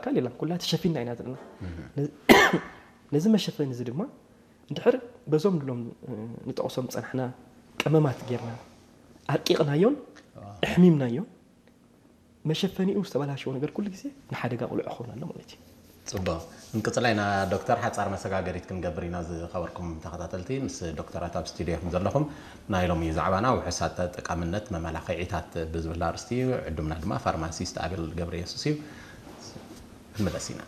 ካሊላ ኩላ ተሸፊና ኢና ዘለና። ነዚ መሸፈኒ እዚ ድማ እንድሕር በዞም ድሎም ንጠቕሶም ዝጸናሕና ቀመማት ጌርና ኣርቂቕናዮን ኣሕሚምናዮን መሸፈኒኡ ዝተበላሸወ ነገር ኩሉ ግዜ ንሓደጋ ቁልዑ ክኸውን ኣሎ ማለት እዩ። ጽቡቕ። እንቅጽላይና ዶክተር ሓጻር መሰጋገሪት ክንገብር ኢና። ዝኸበርኩም ተኸታተልቲ ምስ ዶክተራት ኣብ ስቱዲዮ ዘለኹም ናይ ሎሚ ዛዕባና ውሕሳት ጠቃምነት መመላኽዒታት ብዝብል ኣርእስቲ እዩ። ዕዱምና ድማ ፋርማሲስት ኣቤል ገብረ የሱስ እዩ። ክንመለስ ኢና።